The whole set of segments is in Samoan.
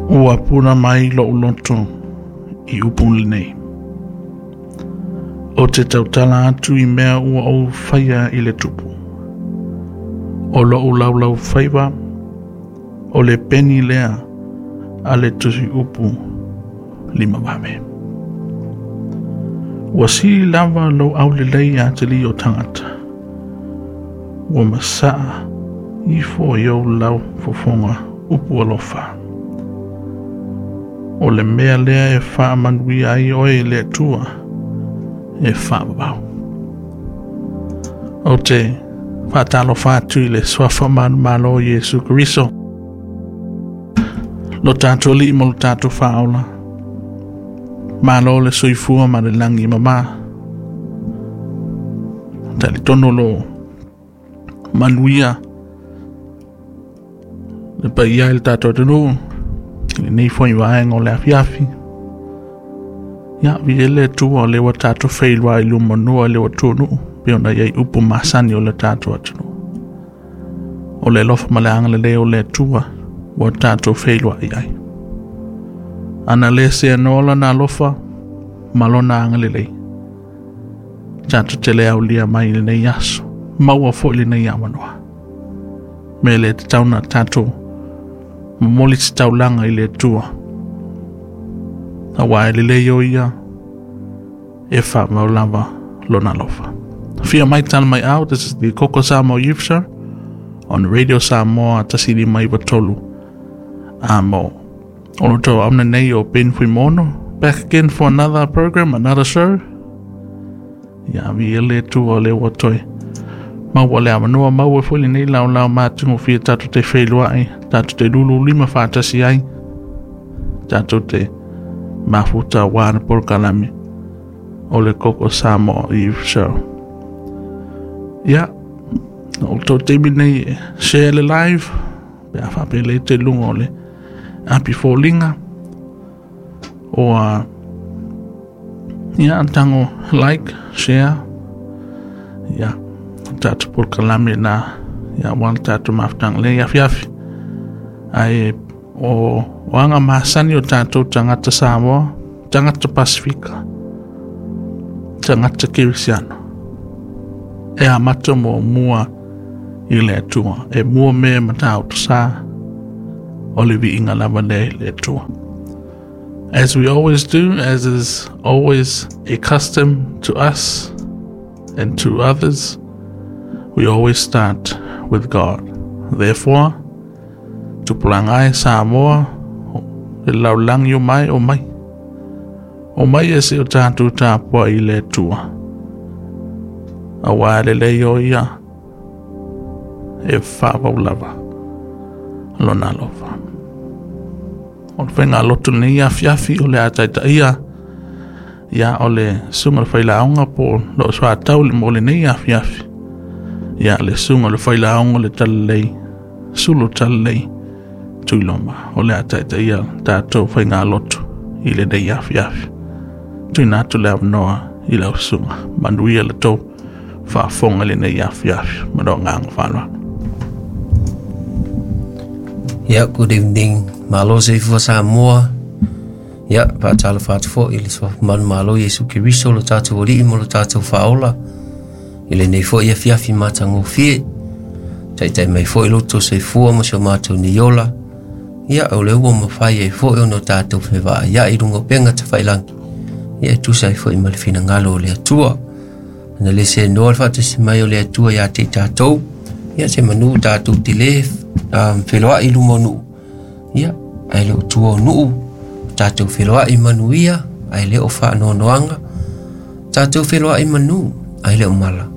Ua puna mai lo'u loto i upu lenei. O te tautala atu i mea ua ou faia i le tupu. O lo'u laulaufaiva, o le peni lea a le tusi upu limavave. Ua sili lava lou aulelei ia te o tagata. Ua masa'a ifo i ou lau fofoga upu alofa. O le mea lea e faamanuia ai oe e le Atua e faavavau. Ou te faatalofa atu i le suafa manumalo o Iesu Keriso, lo tatou Alii ma lo tatou Faaola. Malo le soifua ma le lagi e mama. Talitonu lo manuia le paia i le tatou atunuu i lenei foi vaega o le afiafi. Ia, viia le Atua o lea ua tatou feiloai i lumanua i le ua tunuu, pei ona i ai upu masani o le tatou atunuu. O le alofa ma le agalelei o le Atua ua tatou feiloai ai. Ana le seanoa lona alofa ma lona agalelei, tatou te le aulia mai i lenei aso, maua foi lenei avanoa. Me le tatau na tatou momoli se taulaga i le Atua. Aua e lelei o ia e faamau lava lona alofa. Afio mai tala mai au, this is the Koko Samoa Youth Show on Radio Samoa 153 amo. O lo tau auna nei o Ben Fuimono, back again for another program, another show. Ia viia le Atua o lea ua toe maua le avanoa, maua foi lenei laolao matagofie tatou te feiloai, tatou te lululima faatasi ai, tatou te mafuta aua le polokalame o le Koko Samoa Youth Show. Ia, o le tou taimi lenei e share le live, pe a faapea lea te luga o le api foliga, o ia, tago like, share, ia, tatou polokalame na, ia, aua le tatou mafutaga lenei afiafi. Ae o aga masani o tatou tagata Samoa, tagata Pasifika, tagata Kerisiano, e amata muamua i le Atua, e mua mea Matautu Sa, o le viiga lava lea i le Atua. As we always do, as is always a custom to us and to others, we always start with God. Therefore, tupulaga e Samoa, le lalolagi o mai, o mai. O mai e se o tatou tapuai i le Atua. Aua lelei o ia e faavau lava lona alofa. O le faigalotu lenei afiafi o le a taitaia, ia, o le susuga le failauga po o loo soatau le mo lenei afiafi. Ia, le susuga le failauga le talalei, Sulu Talalei Tuiloma, o le a taitaia tatou faigalotu i lenei afiafi. Tuuina atu le avanoa i lau susuga. Manuia le tou faafofoga i lenei afiafi. Ma lou agaga faaaloalo. Yeah, good evening. Malo soifua Samoa. Ia, faatalofa atu foi i le suafa manumalo Iesu Keriso lo tatou Alii ma lo tatou Faaola i lenei foi afiafi matagofie. Taitai mai foi lo outou soifua ma si o matou nei ola. Ia, o lea ua mafai ai foi ona tatou fevaaiai i luga o upega tafailagi. Ia, e tusa ai foi ma le finagalo o le Atua. Ana le seanoa le faatasi mai o le Atua ia te i tatou, ia se manu tatou te le feloai i luma o nuu, ia, ae le o tua o nuu, tatou feloai manuia, ae le o faanoanoaga, tatou feloai manu, ae le o mala.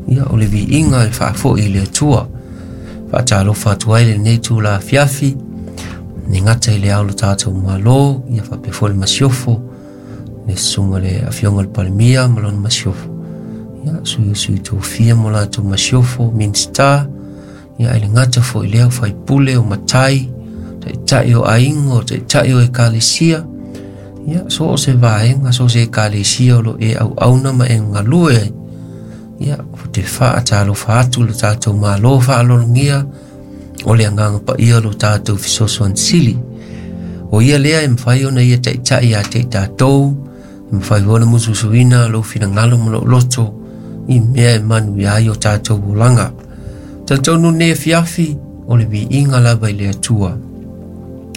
Ia, o le viiga e faafoi i le Atua. Faatalofa atu ai lenei itula afiafi, le gata i le ao o lo tatou Malo, ia faapea foi le masiofo, le susuga le afioga i le Palemia ma lona masiofo, ia, sui o sui tofia ma latou masiofo, Minisita, ia, ae le gata foi i lea o faipule, o matai, taitai o aiga, o taitai o ekalesia, ia, so o se vaega, so o se ekalesia o lo e auauna ma e galue ai. Ia, o te faatalofa atu lo tatou Malo faaaloalogia, o le Agaga Paia lo tatou fesoasoani sili. O ia lea e mafai ona ia ta'ita'i ia te i tatou, e mafai foi ona musumusuina lou finagalo ma lou loto i mea e manuia ai o tatou olaga. Talitonu lenei afiafi o le viiga lava i le Atua.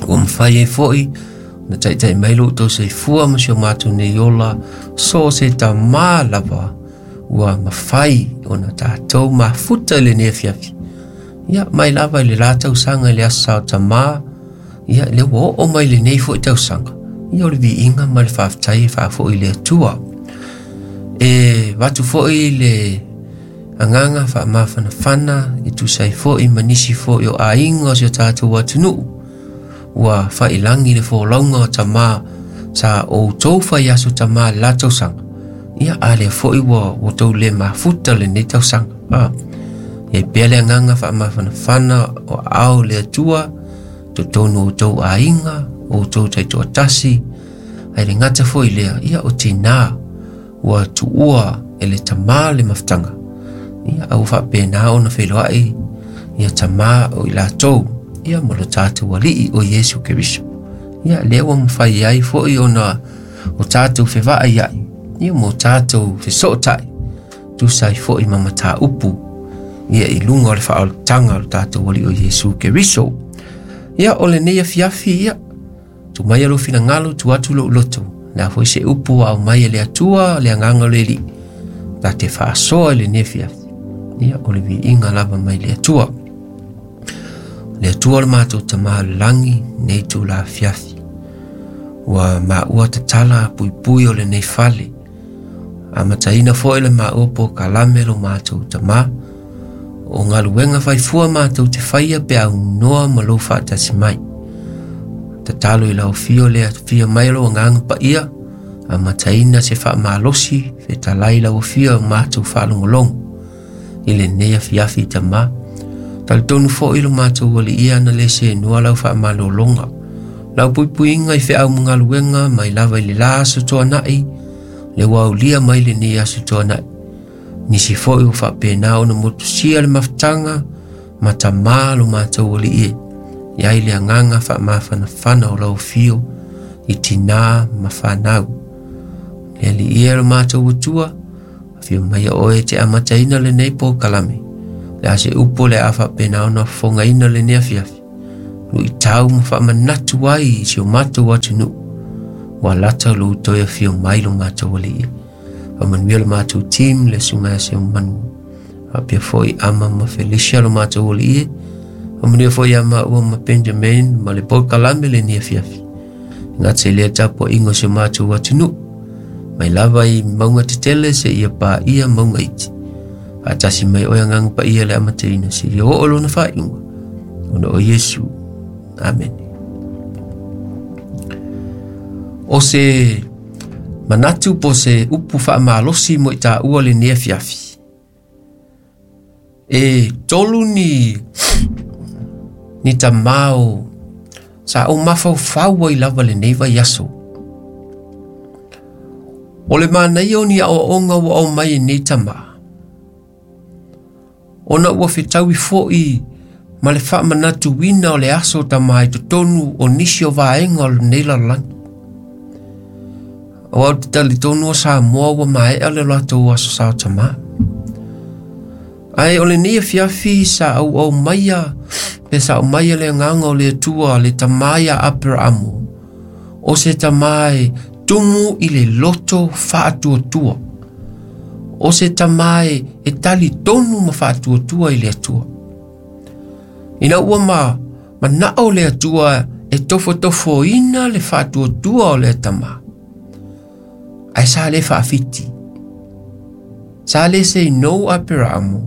Ua mafai ai foi ona ta'ita'i mai lo outou soifua ma si o matou nei ola, so o se tamā lava ua mafai ona tatou mafuta i lenei afiafi. Ia, mai lava i le la tausaga i le aso Sa o Tamā, ia, lea ua oo mai lenei foi tausaga, ia o le viiga ma le faafetai e faafoi i le Atua. E avatu foi le agaga faamafanafana e tusa ai foi ma nisi foi o aiga o si o tatou atunuu ua failagi le folauga o tamā sa outou fai aso tamā i le la tausaga. Ia, a lea foi ua outou le mafuta lenei tausaga. Ia i pea le agaga faamafanafana o aao le Atua, totonu o outou aiga, o outou taitoatasi, ae le gata foi lea, ia o tinā ua tuua e le tamā le mafutaga. Ia, a ua faapena ona feiloai ia tamā o i latou, ia ma lo tatou Alii o Iesu Keriso. Ia, lea ua mafai ai foi ona o tatou fevaaiai, ia ma o tatou fesootai, tusa ai foi ma mataupu, ia i luga o le faaolataga o le tatou Alii o Iesu Keriso. Ia, o lenei afiafi, ia, tuu mai lou finagalo, tuu atu lou loto, le a foi se upu ua aumai e le Atua, le agaga o le Alii, ta te faasoa i lenei afiafi. Ia, o le viiga lava mai le Atua. Le Atua o le matou Tamā o le lagi, nei itula afiafi. Ua maua tatala puipui o lenei fale. Amataina foi le maua polokalame lo matou Tamā. O galuega faifua matou te faia pe aunoa ma lou faatasi mai. Tatalo i lau afio le afio mai o lou agaga paia, amataina se faamalosi fetalai lau afio o matou faalogologo i lenei afiafi Tamā. Talitonu foi lo matou Alii ana le sēnoa lau faamalologa. Lau puipuiga i feau ma galuega mai lava i le la aso tuanai, le ua aulia mai lenei aso tuanai. Nisi foi ua faapena ona motusia le mafutaga ma tamā lo matou Alii e. I ai le agaga faamafanafana o lau afio i tinā ma fanau. Le Alii e lo matou Atua, afio mai oe e te amataina lenei polokalame. Le a se upu o le a faapena ona fofogaina lenei afiafi. Luitau ma faamanatu ai i si o matou atunuu. Ua lata lou toe afio mai lo matou Alii. Faamanuia lo matou team, le susuga ia Seumanu. Faapea foi Ama ma Felicia lo matou Alii e. Faamanuia foi ia maua ma Benjamin ma le polokalame lenei afiafi. Gata i lea tapuaiga o si o matou atunuu. Mai lava i mauga tetele seia paia mauga iti. Faatasi mai oe agaga paia le amataina seia oo lona faaiuga. Ona o Iesu. Amene. O se manatu po o se upu faamalosi mo i taua lenei afiafi. E tolu ni tamā o sa ou mafaufau ai lava lenei vaiaso. O le manaia o ni aoaoga ua aumai e nei tamā, ona ua fetaui foi ma le faamanatuina o le aso tamā i totonu o nisi o vaega o lenei lalolagi. Aua ou te talitonu o Samoa ua maea le latou aso Sa o Tamā. Ae o lenei afiafi sa auaumaia pe sa aumaia le agaga o le Atua le tamā ia Aperaamo, o se tamā e tumu i le loto faatuatua, o se tamā e talitonu ma faatuatua i le Atua. Ina ua ma manao le Atua e tofotofoina le faatuatua o le tamā, ae sa le faafiti. Sa le say no Aperaamo,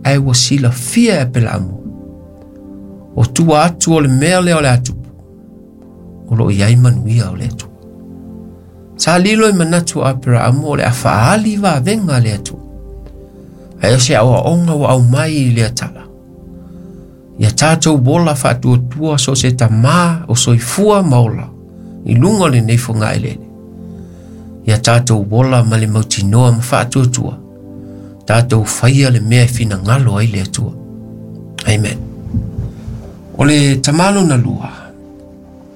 ae ua silafia e Aperaamo. O tua atu o le mea lea o le atupu, o loo i ai manuia o le Atua. Sa lilo i manatu o Aperaamo o le a faali vavega le Atua. Ae o se aoaoga ua aumai i lea tala. Ia tatou ola faatuatua so o se tamā o soifua ma ola i luga o lenei fogaelele. Ia tatou ola ma le mautinoa ma faatuatua. Tatou faia le mea e finagalo ai le Atua. Amen. O le tamā lona lua.